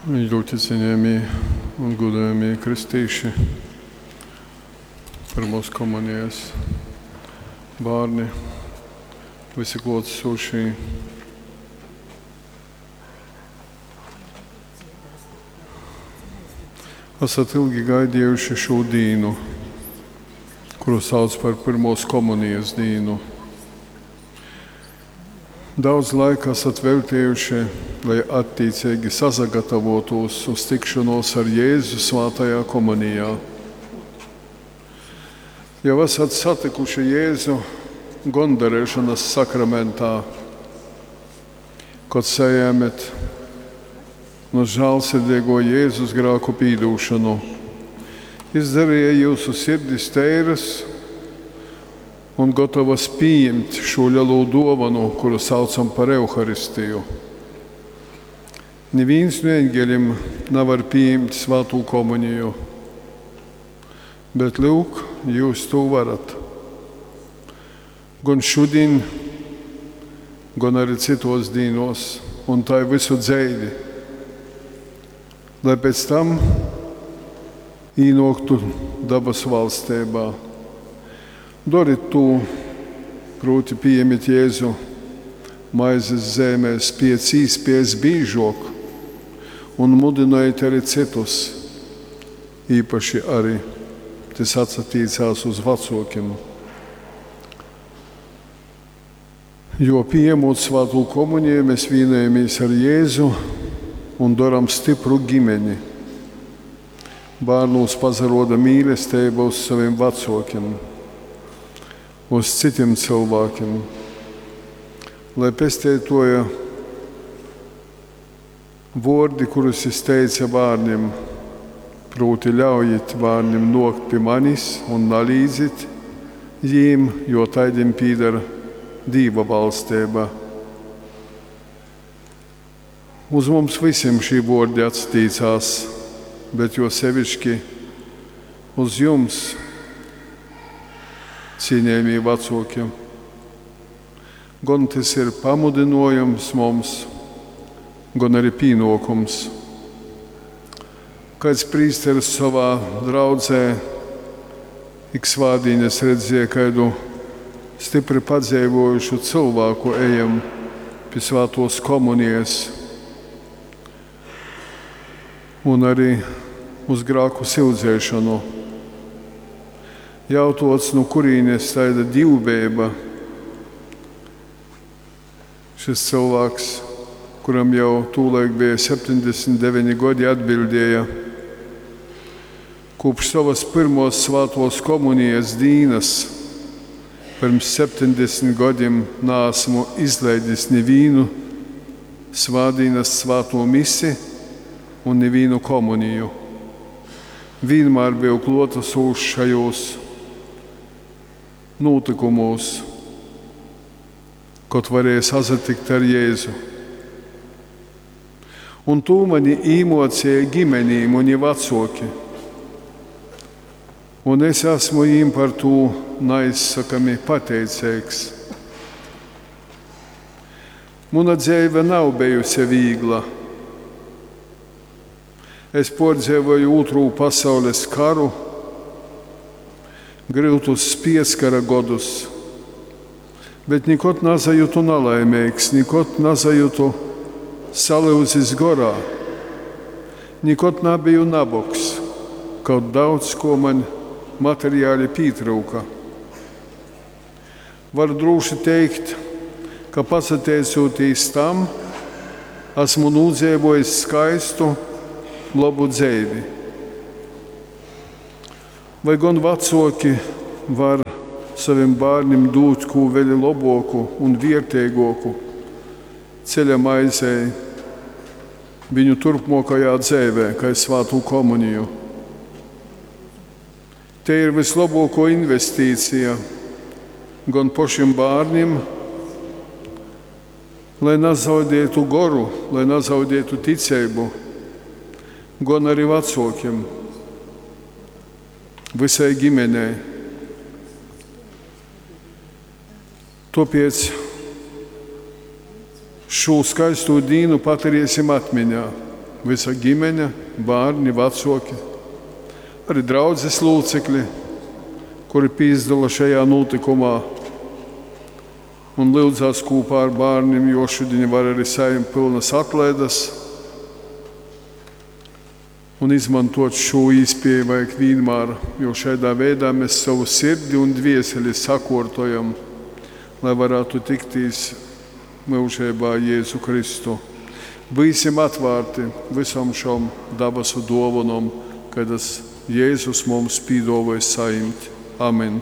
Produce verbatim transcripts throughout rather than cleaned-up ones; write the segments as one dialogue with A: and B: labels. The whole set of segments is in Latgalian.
A: Ļoti cienījamie un godājamie kristīši, pirmos komunijas bērni, visi klātesošie. Esat ilgi gaidījuši šo dienu, kuru sauc par pirmos komunijas dienu. Daudz laika esat veltījuši, lai attiecīgi sasagatavotos uz tikšanos ar Jēzu svētajā komunijā. Jau esat satikuši Jēzu gondarēšanas sakramentā, kad sajēmet no žēlsirdīgo Jēzus grēku pīdūšanu. Izdarīja jūsu sirdis teiras un gatavas pieņemt šo lielo dāvanu, kuru saucam par Euharistiju. Neviens no eņģeļiem nevar pieņemt svēto komuniju, bet lūk, jūs to varat. Gan šodien, gan arī citos dīnos, un tā visu dzeivi, lai pēc tam īnoktu dabas valstībā. Doriet to, proti pieņemiet Jēzu maizes zemēs pēc īspējas bīžok un mudinojiet arī citus, īpaši arī tas atsatīcās uz vecākiem. Jo pieņemot svēto komuniju, mēs vienojamies ar Jēzu un darām stipru ģimeni. Bērnūs pazaroda mīlestība uz saviem vecākiem, uz citiem cilvēkiem, lai pestētoja vordi, kurus es teica bērniem, proti ļaujiet bērniem nokt pie manis un nalīdzit jīm, jo taidim pīdara Dīva valstība. Uz mums visiem šī vordi atstīcās, bet jo sevišķi uz jums, cienījamie vecāki. Gan tas ir pamudinojums mums, gan arī pienākums. Kāds prīsteris savā draudzē ik svātdienas redzēja kādu stipri padzīvojušu cilvēku ejam pie svētos komunijas un arī uz grāku sildzēšanu. Jautots, no kurienes taida divbēba, šis cilvēks, kuram jau tūlaik bija septiņdesmit deviņi gadi, atbildēja, kopš savas pirmos svētos komunijas dīnas, pirms septiņdesmit gadiem neesmu izlaidis nevienu svātdienas svēto misi un nevienu komuniju. Vienmēr biju klātesošs šajos notikumos, kad varēja sasatikt ar Jēzu. Un to mani īmocīja ģimenī, mani vecāki. Un es esmu viņiem par to neizsakami pateicīgs. Mana dzīve nav bijusi viegla. Es pārdzīvoju otro pasaules karu, grūtus pieskara godus, bet nekad nezajūtu nelaimīgs, nekad nezajūtu salūzis gorā, nekad nebiju naboks, kaut daudz ko man materiāli pietrūka. Varu droši teikt, ka pasateicoties tam, esmu nodzīvojis skaistu, labu dzīvi. Vai gan vecāki var saviem bērniem dot ko vēl labāku un vērtīgāku ceļa maizei viņu turpmākajā dzīvē, kā svēto komuniju. Te ir vislabāko investīcija gan pašiem bērniem, lai nezaudētu goru, lai nezaudētu ticību, gan arī vecākiem, visai ģimenei. Tāpēc šo skaisto dienu paturēsim atmiņā. Vysa ģimene, bārni, vacoki, arī draudzes locekļi, kuri pīsadala šajā notikumā un lyudzās kopā ar bērniem, jo šodien var arī saņemt pilnas atlaidas. Un izmantot šo iespēju vajag vienmēr, jo šādā veidā mēs savu sirdi un dvieseli sakortojam, lai varētu tiktīs mūžībā Jēzu Kristu. Būsim atvērti visom šom dabasu dovanom, kādas Jēzus mums pīdāvāja saņemt. Amen.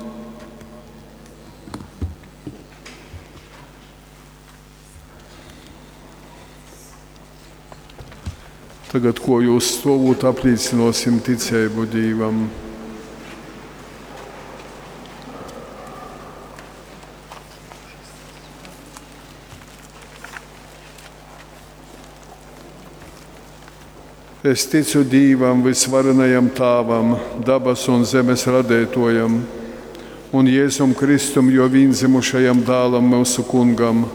A: Tagad, ko jūs stovot, apliecināsim ticību Dievam. Es ticu Dievam, visvarenajam Tāvam, dabas un zemes radētojam, un Jēzum Kristum, jo vienzimušajam dēlam mūsu kungam,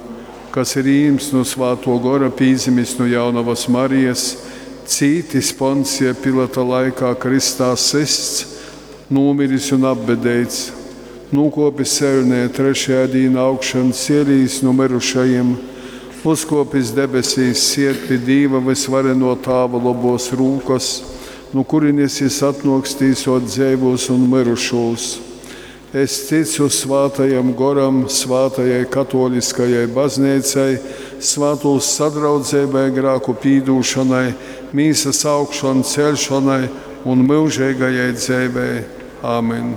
A: kas ir īms no svāto gora, pīzimis no jaunavas Marijas, cītis Poncija Pilata laikā kristā sists, nomiris un apbedēts, nokopis elnē, trešajā dienā augšan cielīs no mirušajiem, uzkopis debesīs, sied pie Dīva visvareno Tāva lobos rūkos, no kurienes jis atnoks tīsot dzīvos un mirušos. Es ticu svātajam goram, svātajai katoliskajai baznīcai, svātūs sadraudzībai, grāku pīdūšanai, mīsas augšanu, celšanai un mūžīgajai dzīvei. Āmen.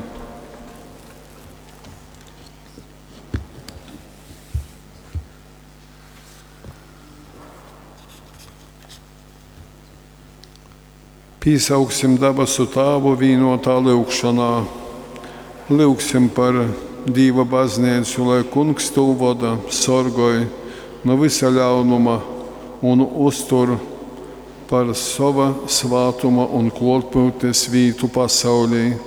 A: Pīsauksim dabasu Tāvu vienotā lūgšanā. Lūgsim par Dīva baznīcu, lai kungs to voda, sorgoj no visa ļaunuma un uztur par sava svātuma un klotpūtnes vītu pasaulī.